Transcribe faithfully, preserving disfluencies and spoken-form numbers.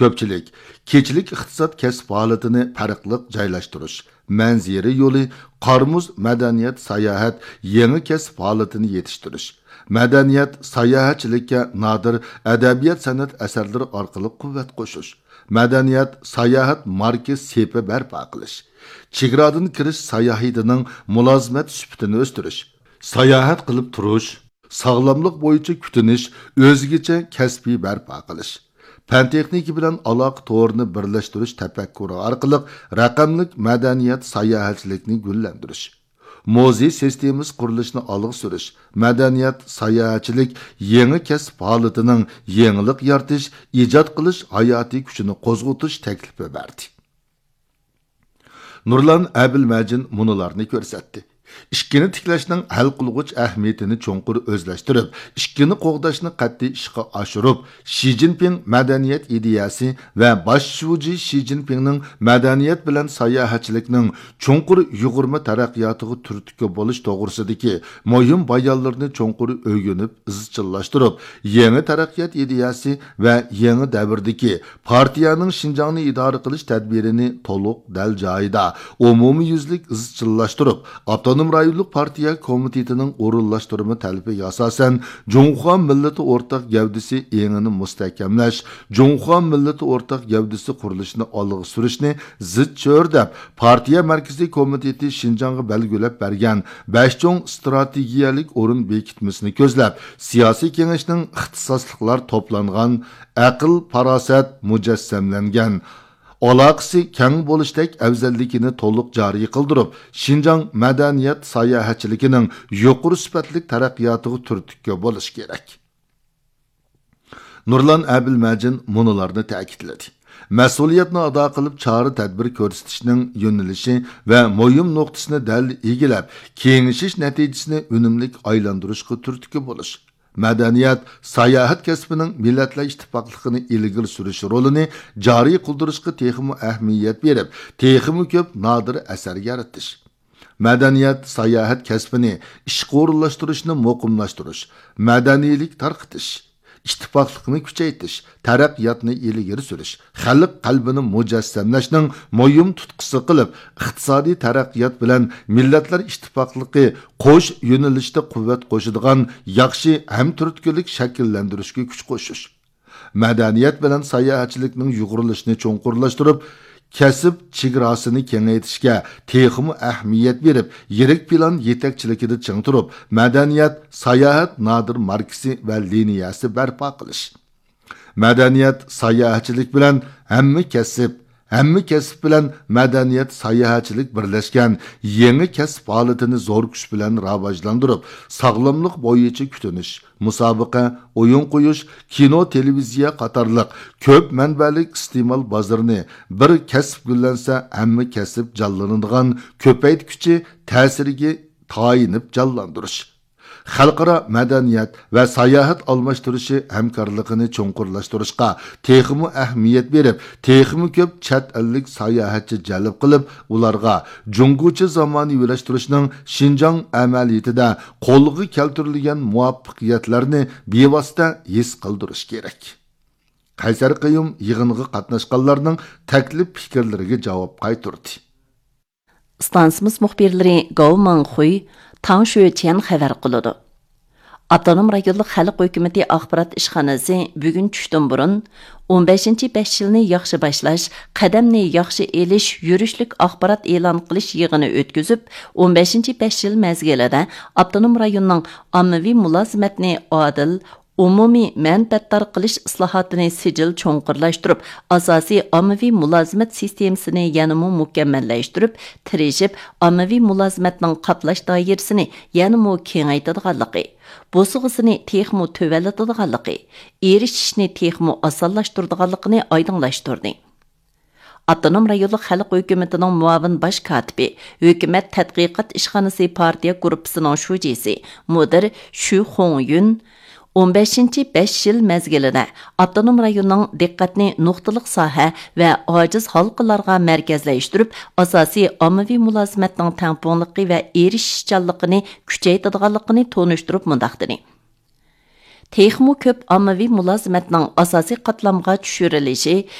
كۆپچىلىك، كېچىلىك ئىقتىساد كەسىپ ھالىتىنى پەرقلىق جايلاشتۇرۇش، مەنزىرە يولى، قار-مۇز، مەدەنىيەت، ساياھەت، يېڭى كەسىپ ھالىتىنى يېتىشتۈرۈش، مەدەنىيەت، ساياھەتچىلىككە نادىر ئەدەبىيات-سەنئەت ئەسەرلىرى ئارقىلىق قۇۋۋەت قوشۇش، مەدەنىيەت، ساياھەت ماركا سېپى بەرپا قىلىش، چېگرادىن كىرىش ساياھىتىنىڭ مۇلازىمەت سۈپىتىنى ئۆستۈرۈش، ساياھەت قىلىپ تۇرۇش، ساغلاملىق بويىچە كۈتۈنۈش، ئۆزگىچە كەسپىي بەرپا قىلىش، پەن تېخنىكا بىلەن ئالاقە تورىنى بىرلەشتۈرۈش تەپەككۇرى ئارقىلىق رەقەملىك مەدەنىيەت ساياھەتچىلىكنى گۈللەندۈرۈش، مۇزېي سىستېمىسى قۇرۇلۇشىنى ئالغا سۈرۈش، مەدەنىيەت، ساياھەتچىلىك يېڭى كەسىپ ھالىتىنىڭ يېڭىلىق يارىتىش، ئىجاد قىلىش ھاياتىي كۈچىنى قوزغىتىش تەكلىپى بەردى. نۇرلان ئەبىلمەجىن مۇنۇلارنى كۆرسەتتى. ئىككىنى تىكلەشنىڭ ھەل قىلغۇچ ئەھمىيىتىنى چوڭقۇر ئۆزلەشتۈرۈپ، ئىككىنى قوغداشنى قەتئىي ئىشقا ئاشۇرۇپ، شى جىنپىڭ مەدەنىيەت ئىدىيەسى ۋە باش شۇجى شى جىنپىڭنىڭ مەدەنىيەت بىلەن ساياھەتچىلىكنىڭ چوڭقۇر يۇغۇرما تەرەققىياتىغا تۈرتكە بولۇش توغرىسىدىكى مۇھىم بايانلىرىنى چوڭقۇر ئۆگىنىپ، ئىزچىللاشتۇرۇپ، يېڭى تەرەققىيات ئىدىيەسى ۋە يېڭى دەۋردىكى پارتىيەنىڭ شىنجاڭنى ئىدارە قىلىش تەدبىرىنى تولۇق، دەل جايىدا، ئومۇميۈزلۈك ئىزچىللاشتۇرۇپ، ئاپتونوم رايونلۇق پارتىيە كومىتېتىنىڭ ئورۇنلاشتۇرما تەلىپىگە ئاساسەن، جۇڭخۇا مىللىتى ئورتاق گەۋدىسى ئېڭىنى مۇستەھكەملەش، جۇڭخۇا مىللىتى ئورتاق گەۋدىسى قۇرۇلۇشىنى ئالغا سۈرۈشنى زىچ چۆرىدەپ، پارتىيە مەركىزىي كومىتېتى شىنجاڭغا بەلگىلەپ بەرگەن بەش چوڭ ئىستراتېگىيەلىك ئورۇن بېكىتمىسىنى كۆزلەپ، سىياسىي كېڭەشنىڭ ئىختىساسلىقلار توپلانغان، ئەقىل-پاراسەت مۇجەسسەملەنگەن، ئالاقىسى كەڭ بولۇشتەك ئەۋزەللىكىنى تولۇق جارى قىلدۇرۇپ، شىنجاڭ مەدەنىيەت ساياھەتچىلىكىنىڭ يۇقىرى سۈپەتلىك تەرەققىياتىغا تۈرتكە بولۇش كېرەك. نۇرلان ئەبىلمەجىن مۇنۇلارنى تەكىتلىدى: مەسئۇلىيەتنى ئادا قىلىپ، چارە-تەدبىر كۆرسىتىشنىڭ يۆنىلىشى ۋە مۇھىم نۇقتىسىنى دەل ئىگىلەپ، كېڭىشىش نەتىجىسىنى ئۈنۈملۈك ئايلاندۇرۇشقا تۈرتكە بولۇش، مەدەنىيەت، ساياھەت كەسپىنىڭ مىللەتلەر ئىتتىپاقلىقىنى ئىلگىرى سۈرۈش رولىنى جارى قىلدۇرۇشقا تېخىمۇ ئەھمىيەت بېرىپ، تېخىمۇ كۆپ نادىر ئەسەر يارىتىش، مەدەنىيەت، ساياھەت كەسپىنى ئىشقا ئورۇنلاشتۇرۇشنى مۇقىملاشتۇرۇش، مەدەنىيلىك تارقىتىش، ئىتتىپاقلىقنى كۈچەيتىش، تەرەققىياتنى ئىلگىرى سۈرۈش، خەلق قەلبىنى مۇجەسسەملەشنىڭ مۇھىم تۇتقىسى قىلىپ، ئىقتىسادىي تەرەققىيات بىلەن مىللەتلەر ئىتتىپاقلىقى قوش يۆنىلىشتە قۇۋۋەت قوشىدىغان ياخشى ھەمتۈرتكىلىك شەكىللەندۈرۈشكە كۈچ قوشۇش، مەدەنىيەت بىلەن ساياھەتچىلىكنىڭ يۇغۇرۇلۇشىنى چوڭقۇرلاشتۇرۇپ، كەسىپ چېگراسىنى كېڭەيتىشكە تېخىمۇ ئەھمىيەت بېرىپ، يىرىك پىلان يېتەكچىلىكىدە چىڭ تۇرۇپ، مەدەنىيەت، ساياھەت نادىر ماركىسى ۋە لىنىيەسى بەرپا قىلىش. مەدەنىيەت، ساياھەتچىلىك بىلەن ھەممە كەسىپ، ھەممە كەسىپ بىلەن مەدەنىيەت، ساياھەتچىلىك بىرلەشكەن يېڭى كەسىپ ھالىتىنى زور كۈچ بىلەن راۋاجلاندۇرۇپ، ساغلاملىق بويىچە كۈتۈنۈش، مۇسابىقە، ئويۇن قويۇش، كىنو، تېلېۋىزىيە قاتارلىق كۆپ مەنبەلىك ئىستېمال بازىرىنى بىر كەسىپ گۈللەنسە، ھەممە كەسىپ جانلىنىدىغان، كۆپەيتكۈچى تەسىرىگە تايىنىپ جانلاندۇرۇش. خەلقئارا مەدەنىيەت ۋە ساياھەت ئالماشتۇرۇشى ھەمكارلىقىنى چوڭقۇرلاشتۇرۇشقا تېخىمۇ ئەھمىيەت بېرىپ، تېخىمۇ كۆپ چەت ئەللىك ساياھەتچى جەلپ قىلىپ، ئۇلارغا جۇڭگوچە زامانىۋىلاشتۇرۇشنىڭ شىنجاڭ ئەمەلىيىتىدە قولغا كەلتۈرۈلگەن مۇۋەپپەقىيەتلەرنى بىۋاسىتە ھېس قىلدۇرۇش كېرەك. قەيسەر قەييۇم يىغىنغا قاتناشقانلارنىڭ تەكلىپ پىكىرلىرىگە جاۋاب قايتۇردى. ئىستانسىمىز مۇخبىرلىرى گاۋ ماڭخۇي، تاڭ شۆچيەن خەۋەر قىلىدۇ. ئاپتونوم رايونلۇق خەلق ھۆكۈمىتى ئاخبارات ئىشخانىسى بۈگۈن چۈشتىن بۇرۇن ئون بەشىنچى بەش يىلنى ياخشى باشلاش، قەدەمنى ياخشى ئېلىش يۈرۈشلۈك ئاخبارات ئېلان قىلىش يىغىنى ئۆتكۈزۈپ، ئون بەشىنچى بەش يىل مەزگىلىدە ئاپتونوم رايوننىڭ ئاممىۋى مۇلازىمەتنى ئادىل، ئومۇمىي مەنپەئەتدار قىلىش ئىسلاھاتىنى سىجىل چوڭقۇرلاشتۇرۇپ، ئاساسىي ئاممىۋى مۇلازىمەت سىستېمىسىنى يەنىمۇ مۇكەممەللەشتۈرۈپ، تىرىشىپ ئاممىۋى مۇلازىمەتنىڭ قاپلاش دائىرىسىنى يەنىمۇ كېڭەيتىدىغانلىقى، بوسۇغىسىنى تېخىمۇ تۆۋەنلىتىدىغانلىقى، ئېرىشىشنى تېخىمۇ ئاسانلاشتۇرىدىغانلىقىنى ئايدىڭلاشتۇردى. ئاپتونوم رايونلۇق خەلق ھۆكۈمىتىنىڭ مۇئاۋىن باش كاتىپى، ھۆكۈمەت تەتقىقات ئىشخانىسى پارتىيە گۇرۇپپىسىنىڭ شۇجىسى، مۇدىر شۈ خۇڭيۈن، ئون بەشىنچى بەش يىل مەزگىلىدە ئاپتونوم رايوننىڭ دىققەتنى نۇقتىلىق ساھە ۋە ئاجىز ھالقىلارغا مەركەزلەشتۈرۈپ، ئاساسىي ئاممىۋى مۇلازىمەتنىڭ تەڭپۇڭلۇقى ۋە ئېرىشىشچانلىقىنى كۈچەيتىدىغانلىقىنى تونۇشتۇرۇپ مۇنداق دېدى: تېخىمۇ كۆپ ئاممىۋى مۇلازىمەتنىڭ ئاساسىي قاتلامغا چۈشۈرۈلۈشى،